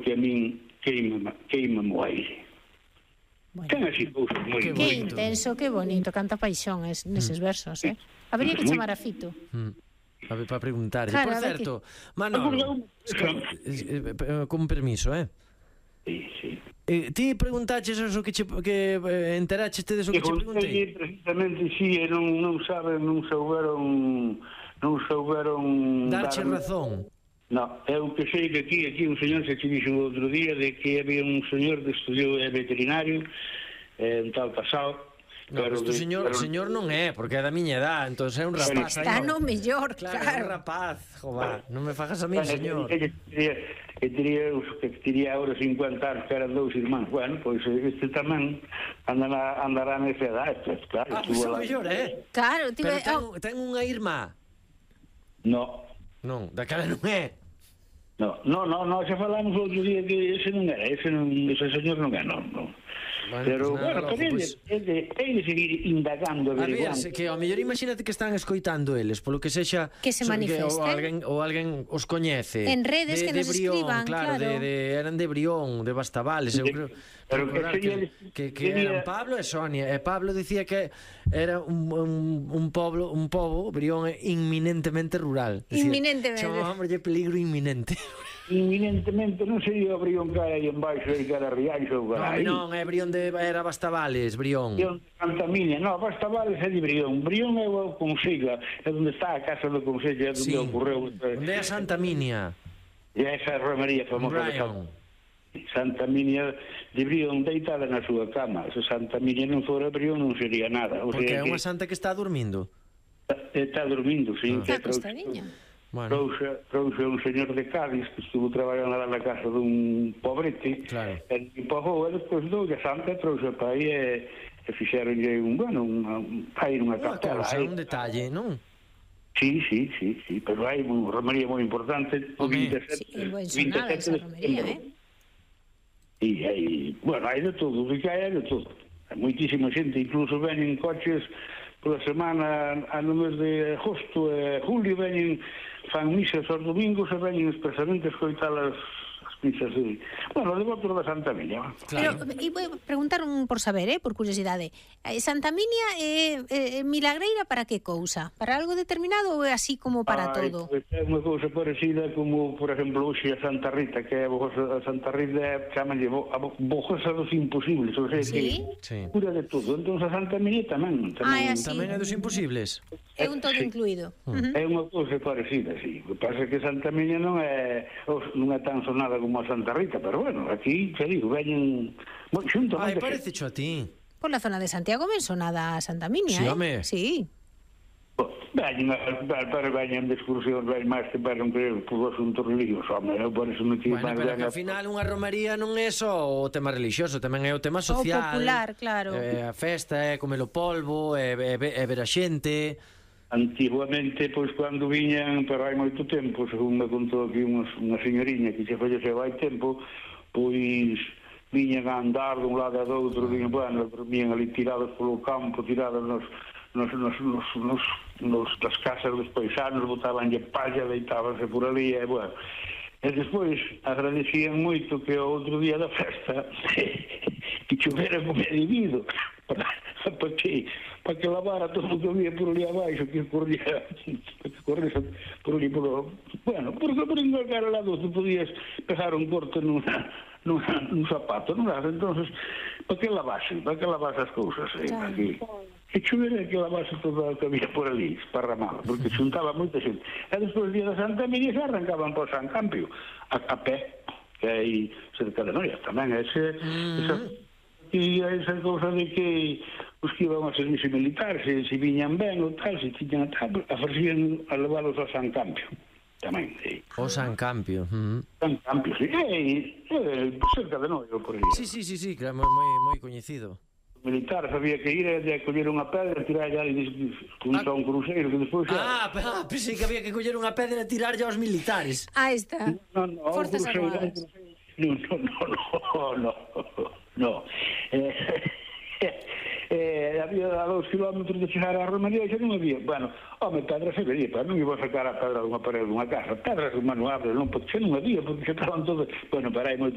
que a min queima mo aire. Ten así cousas moi... Que intenso, que bonito, canta paixón neses versos, Habería que chamar a Fito. A ver, para preguntarlle. Claro, Por certo, Manolo, con permiso, Sí. Ti preguntaches eso que enteraches tedes o que che preguntei? Precisamente, sí, non souberon darche razón. No, eu que sei que aquí un señor se che dixo outro día de que había un señor que estudiou veterinario, un tal Pasado. No, pero este señor non é, porque é da miña edad, entón é un rapaz. Está no mellor, claro. É un rapaz, jova, non me fagas a mí, señor. Que tería ahora 50 anos, que eran 2 irmáns. Bueno, pois este tamén andará nesa edad, claro. Pois é o mellor, Claro, pero ten unha irmá. Non, daquela non é. No, xa falamos outro día que ese non era, ese señor non é, non. Bueno, pero, pues ten de seguir indagando, averiguando. A ver, que ao mellor imagínate que están escoitando eles, polo que sexa... Que se manifesten. Ou alguén os coñece. En redes que nos escriban, claro. Eran de Brión, de Bastavales, eu creo. Pero que eran Pablo e Sonia. E Pablo dicía que era un pobo, Brión, inminentemente rural. Inminentemente. Chamámoslle peligro inminente. Inminentemente non sería o Brión que hai en baixo e que era Rianxo. Non, é Brión era Bastavales, Brión. Brión de Santa Miña, non, Bastavales é de Brión. Brión é o Consello, é onde está a casa do Consello, é onde ocorreu. Onde é a Santa Miña? E esa romería famosa de Santa Miña de Brión deitada na súa cama. Se Santa Miña non fora Brión non sería nada. Porque é unha santa que está dormindo. Está dormindo, sí. Está acostadiña. Bueno. Trouxe un señor de Cádiz que estuvo traballando na casa dun pobrete, e pagou, e despois doulle a santa, trouxe para aí e fixeronlle hai unha capela. Un detalle, non? Sí, pero hai unha romería moi importante, o 27 de setembro. E hai, hai de todo, o que hai de todo. Hai moitísima xente, incluso venen coches pola semana, no mes de agosto e julio, fan misas aos domingos e veñen expresamente a escoitar as misas de... de votos da Santa Miña. Pero, e vou preguntar por saber, por curiosidade, Santa Miña é milagreira para que cousa? Para algo determinado ou é así como para todo? É unha cousa parecida como, por exemplo, hoxe a Santa Rita, que é a Santa Rita, chamanlle a bojosa dos imposibles, ou sea, que cura de todo. Entón a Santa Miña tamén é dos imposibles. É un todo incluído. É unha cousa parecida, sí. O que pasa é que Santa Miña non é tan sonada como a Santa Rita, pero aquí, xa digo, veñen xunto. Parece xo a ti. Por la zona de Santiago ven sonada a Santa Miña, sí, home. Sí. Veñen de excursión, ven máis que veron que por asuntos religiosos, home, por eso non tive máis. Pero que ao final unha romería non é só o tema religioso, tamén é o tema social. O popular, claro. A festa, comer o polvo, ver a xente. Antiguamente, pois, cando viñan, pero hai moito tempo, según me contou aquí unha señoriña que se falleceu hai tempo, pois viñan a andar dun lado a do outro, viñan ali tirados polo campo, tirados nas casas dos paisanos, botabanlle palla, deitábanse por ali, e despois agradecían moito que o outro día da festa que chovera como é debido, para que lavara todo o que había por ali abaixo, que corría por ali porque por engalgar al lado tú podías pegar un corte nun zapato, non era? Entonces, para que lavase as cousas que chovera, que lavase todo o que había por ali esparramado, porque xuntaba moita xente, e despois o día da Santa Miña se arrancaban para o San Campio a pé, que hai cerca de Noia tamén, e esa cousa de que os que iban a servicio militar, se viñan ben ou tal, se tiñan tal, ofrecían a leválos ao San Campio tamén. O San Campio. San Campio, sí, cerca de Noia por aí. Sí, claro, moi coñecido. Militar sabía que ir a coller unha pedra, tirarlle ali junto a un cruceiro que despois pensei que había que coller unha pedra e tirarlle aos militares. Está. Forzas Armadas. No. Había a 2 kilómetros de chegar á Romaría xa non había, bueno, pedras se vería, pero non iba a sacar a pedra dunha parede dunha casa, pedras manuables, non, porque xa non había, porque xa estaban todas, bueno, pero hai moito